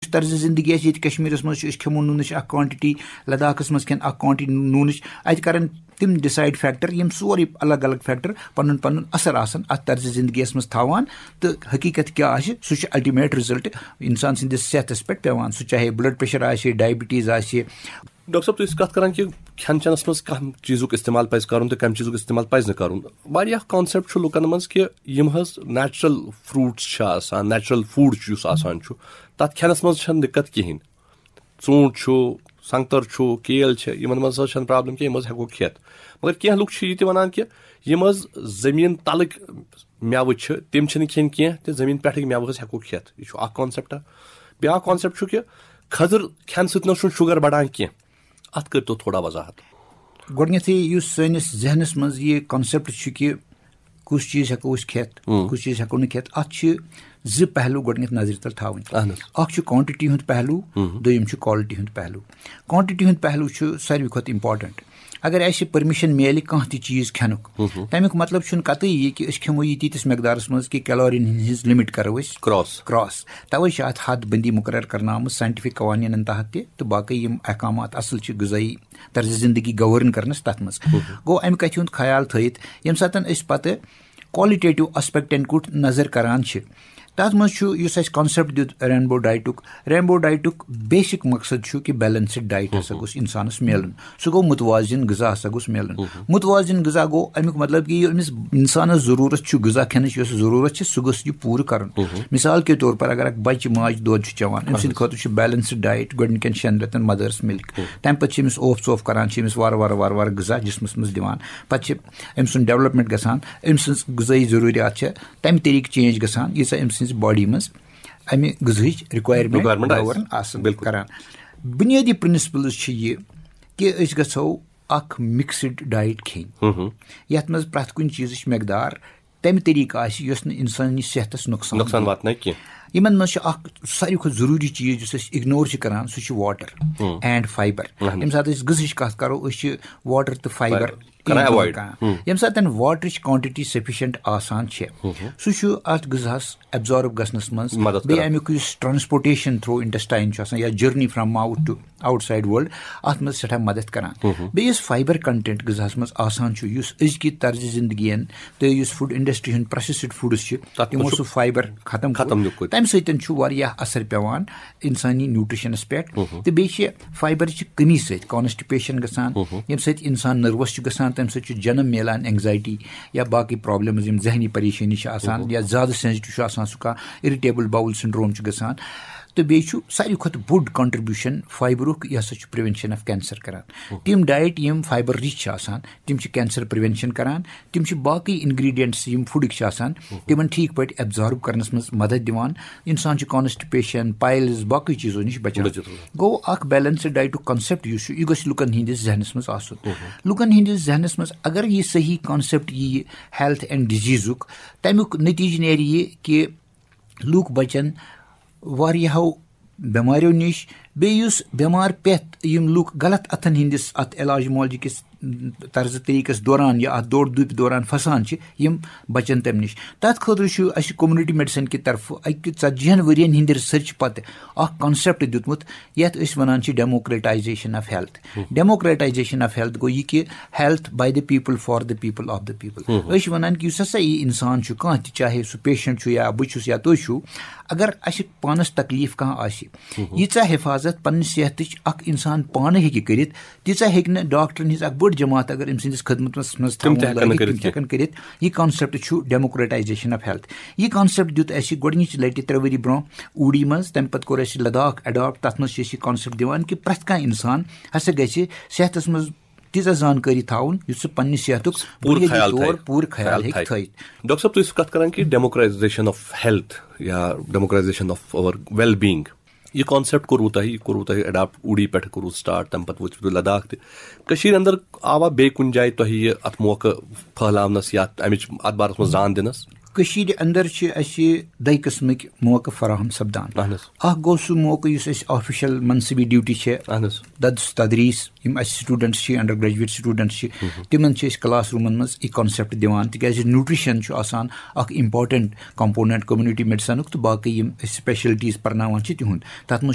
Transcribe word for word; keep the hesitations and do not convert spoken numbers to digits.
یُس طرزِ زندگی اَسہِ ییٚتہِ کشمیٖرس منٛز چھُ، أسۍ کھٮ۪مو نوٗنٕچ اکھ quantity، لداخس منٛز کھٮ۪ن اکھ quantity نوٗنٕچ، اتہِ کرن تِم decide factor، یِم سورُے الگ الگ factor پنُن پنُن اثر آسن اتھ طرزِ زندگی یس منٛز تھاوان، تہٕ حقیقت کیٛاہ آسہِ، سُہ چھُ ultimate result انسان سٕنٛدِس صحتس پٮ۪ٹھ پٮ۪وان، سُہ چاہے blood pressure آسہِ، diabetes آسہِ۔ ڈاکٹر صٲب، تُہۍ ٲسِو کتھ کران کہِ کھٮ۪ن چٮ۪نس منٛز کمہِ چیٖزُک استعمال پزِ کرُن تہٕ کمہِ چیٖزُک استعمال پزِ نہٕ کرُن۔ واریاہ concept چھُ لُکن منٛز کہِ یِم حظ natural fruits چھِ آسان، natural food چھُ یُس آسان چھُ، تتھ کھٮ۪نس منٛز چھنہٕ دِقت کِہینۍ۔ ژوٗنٛٹھ چھُ، سنگتر چھُ، کیل چھِ، یِمن منٛز حظ چھنہٕ problem کینٛہہ، یِم حظ ہٮ۪کو کھٮ۪تھ۔ مگر کینٛہہ لُکھ چھِ یہِ تہِ ونان کہِ یِم حظ زٔمیٖن تلٕکۍ مٮ۪وٕ چھِ، تِم چھِنہٕ کھٮ۪نۍ کینٛہہ تہٕ زٔمیٖن پٮ۪ٹھٕکۍ مٮ۪وٕ حظ ہٮ۪کو کھٮ۪تھ۔ یہِ چھُ اکھ concept۔ بیٛاکھ concept چھُ کہِ کھٔزٕر کھٮ۪نہٕ سۭتۍ نہ حظ چھُنہٕ sugar بڑان کینٛہہ۔ اتھ کٔرۍتو تھوڑا وضاحت۔ گۄڈٕنیتھٕے یُس سٲنِس ذہنس منٛز یہِ concept چھُ کہِ کُس چیٖز ہٮ۪کو أسۍ کھٮ۪تھ، ہُم۔ کُس چیٖز ہٮ۪کو نہٕ کھٮ۪تھ، اتھ چھِ زٕ پہلو گۄڈٕنیتھ نظرِ تل تھاوٕنۍ۔ اہن حظ۔ اکھ چھُ quantity ہُنٛد پہلو، ہُم۔ دوٚیِم چھُ quality ہُنٛد پہلو۔ Quantity ہُنٛد پہلو چھُ ساروی کھۄتہٕ important۔ اگر اَسہِ permission میلہِ کانٛہہ تہِ چیٖز کھٮ۪نُک، ہُم۔ تَمیُک مطلب چھُنہٕ قطعی یہِ کہِ أسۍ کھٮ۪مو یہِ تیٖتِس مقدارس منٛز کہِ calorie ہٕنٛز limit کرو أسۍ Cross۔ cross۔ توے چھِ اتھ حد بندی مقرر کرنہٕ آمٕژ scientific قوانینن تحت تہِ، تہٕ باقٕے یِم احکامات اصل چھِ غذٲیی طرزِ زندگی govern کرنس تتھ منٛز۔ گوٚو امہِ کتھِ ہُنٛد خیال تھٲیِتھ ییٚمہِ ساتن أسۍ پتہٕ qualitative aspectن کُٹھ نظر کران چھِ، تتھ منٛز چھُ یُس اسہِ concept دیُت rainbow dietُک، rainbow dietُک basic مقصد چھُ کہِ balanced diet ہسا گوٚژھ انسانس میلُن۔ سُہ گوٚو متوازن غذا ہسا گوٚژھ میلُن۔ متوازن غذا گوٚو امیُک مطلب کہِ ییٚمِس انسانس ضروٗرت چھُ غذا کھٮ۪نٕچ، یۄس ضروٗرت چھِ، سُہ گوٚژھ یہِ پوٗرٕ کرُن۔ مثال کے طور پر اگر اکھ بچہِ ماجہِ دۄد چھُ چٮ۪وان، أمۍ سٕنٛدِ خٲطرٕ چھُ balanced diet، گۄڈٕنِکٮ۪ن شٮ۪ن رٮ۪تن mother's milk، تمہِ پتہٕ چھِ أمِس اوف ژوف کران، چھِ أمِس وارٕ وارٕ وارٕ وارٕ غذا جسمس منٛز دِوان، پتہٕ چھِ أمۍ سُنٛد development گژھان، أمۍ سٕنٛز غذٲیی ضروٗریات چھِ تمہِ طریقہٕ change گژھان، ییٖژاہ أمۍ سٕنٛزِ body منٛز امہِ غذہٕچ requirement Requirement آسہِ۔ govern آسن بِلکُل۔ کران۔ بُنیٲدی principles چھِ یہِ کہِ أسۍ گژھو اکھ mixed diet کھیٚنۍ، یتھ منٛز پرٛٮ۪تھ کُنہِ چیٖزٕچ مقدار تمہِ طریقہٕ آسہِ یۄس نہٕ انسٲنی صحتس نۄقصان نۄقصان دِیہِ۔ واتنایہِ کینٛہہ۔ یِمن منٛز چھُ اکھ ساروی کھۄتہٕ ضروٗری چیٖز یُس أسۍ ignore چھِ کران، سُہ چھُ water and fiber۔ اہن۔ ییٚمہِ ساتہٕ أسۍ غذہٕچ کتھ کرو، أسۍ چھِ water تہٕ fiber Fiber۔ کران enjoy avoid۔ کران۔ ییٚمہِ ساتہٕ waterٕچ quantity sufficient آسان چھِ، سُہ چھُ اتھ غذہس absorb گژھنس منٛز، مدد بیٚیہِ کران۔ امیُک یُس transportation through intestine چھُ آسان یا journey from mouth to outside world، اتھ منٛز سٮ۪ٹھاہ مدد کران۔ بیٚیہِ یُس fiber content غذہس منٛز آسان چھُ، یُس أزکہِ طرزِ زندگی ین تہٕ یُس food industry ہُنٛد processed foods چھِ، تتھ تِمو منٛز چھُ سُہ fiber ختم ختم کوٚر۔ نیُکُت۔ تمہِ سۭتۍ چھُ واریاہ اثر پٮ۪وان انسٲنی nutritionس پٮ۪ٹھ۔ تہٕ بیٚیہِ چھِ fiberٕچ کمی سۭتۍ constipation گژھان، ییٚمہِ سۭتۍ انسان nervous چھُ گژھان، تمہِ سۭتۍ چھُ جنم میلان anxiety یا باقٕے problems، یِم ذہنی پریشٲنی چھِ آسان یا زیادٕ sensitive چھُ آسان سُہ کانٛہہ، irritable bowel syndrome چھُ گژھان۔ تہٕ بیٚیہِ چھُ ساروی کھۄتہٕ بوٚڑ contribution fiberُک، یہِ ہسا چھُ prevention of cancer کران۔ تِم diet یِم fiber rich چھِ آسان، تِم چھِ cancer prevention کران۔ تِم چھِ باقٕے ingredients یِم foodٕکۍ چھِ آسان، تِمن ٹھیٖک پٲٹھۍ absorb کرنس منٛز مدد دِوان۔ انسان چھُ constipation، piles، باقٕے چیٖزو نِش بچان۔ بچت روزان۔ گوٚو اکھ balanced dietُک concept یُس چھُ، یہِ گژھِ لُکن ہٕنٛدِس ذہنس منٛز آسُن۔ لُکن ہٕنٛدِس ذہنس منٛز اگر یہِ صحیح concept ییہِ health and diseaseُک، تمیُک نتیجہٕ نیرِ یہِ کہِ لوٗکھ بچن واریاہو بٮ۪ماریو نِش۔ بیٚیہِ یُس بٮ۪مار پٮ۪تھ یِم لوٗکھ غلط اتھن ہٕنٛدِس اتھ علاج معالجہٕ کِس طرزٕ طریٖقس دوران یا اتھ دورٕ دُپہِ دوران پھسان چھِ، یِم بچن تمہِ نِش۔ تتھ خٲطرٕ چھُ اسہِ community medicine کہِ طرفہٕ اکہِ ژتجی ہن ؤرین ہٕنٛدِ research پتہٕ اکھ concept دیُتمُت، یتھ أسۍ ونان چھِ democratization of health۔ Democratization of health گوٚو یہِ کہِ health by the people for the people of the people۔ أسۍ چھِ ونان کہِ یُس ہسا یہِ انسان چھُ، کانٛہہ تہِ، چاہے سُہ patient چھُ یا بہٕ چھُس یا تُہۍ چھِو، اگر اسہِ پانس تکلیف کانٛہہ آسہِ، ییٖژاہ حفاظت پننہِ صحتٕچ اکھ انسان پانہٕ ہیٚکہِ کٔرِتھ، تیٖژاہ ہیٚکہِ نہٕ ڈاکٹرن ہٕنٛز اکھ بٔڑ جماعت اگر أمۍ سٕنٛدِس خدمتس منٛز تِم تہِ تھاوُن ہٮ۪کن نہٕ لگہِ، کٔرِتھ تِم تہِ ہٮ۪کن کٔرِتھ۔ یہِ concept چھُ democratization of health۔ یہِ concept دیُت اسہِ گۄڈٕنِچ لٹہِ ترٛےٚ ؤری برونٛہہ اوٗڑی منٛز، تمہِ پتہٕ کوٚر اسہِ لداخ adopt۔ تتھ منٛز چھِ أسۍ یہِ concept دِوان کہِ پرٛٮ۪تھ کانٛہہ انسان ہسا گژھِ صحتس منٛز تیٖژاہ زانکٲری تھاوُن یُتھ سُہ پننہِ صحتُک پوٗرٕ بُنیٲدی خیال طور تھایہِ۔ پوٗرٕ خیال خیال ہیٚکہِ تھایہِ۔ تھٲیِتھ۔ ڈاکٹر صٲب، تُہۍ ٲسِو کتھ کران کہِ democratization of health یا democratization of our well being، یہِ concept کوٚروٕ تۄہہِ، یہِ کوٚروٕ تۄہہِ adopt اوٗڑی پٮ۪ٹھ کوٚروٕ start، تمہِ پتہٕ وٲتِو تُہۍ لداخ تہِ۔ کٔشیٖرِ اندر آوا بیٚیہِ کُنہِ جایہِ تۄہہِ یہِ اتھ موقعہٕ پھٔہلاونس یا امِچ اتھ بارس منٛز زان دِنس؟ کٔشیٖرِ اندر چھِ اسہِ دۄیہِ قٕسمٕکۍ موقعہٕ فراہم سپدان۔ اہن حظ۔ اکھ گوٚو سُہ موقعہٕ یُس اسہِ official منصبی duty چھےٚ، اہن حظ۔ درس تدریس، یِم اسہِ students چھِ، undergraduate students چھِ، تِمن چھِ أسۍ class roomن منٛز یہِ concept دِوان، تِکیازِ nutrition چھُ آسان اکھ important component community medicineُک تہٕ باقٕے یِم أسۍ specialties پرناوان چھِ تِہُنٛد۔ تتھ منٛز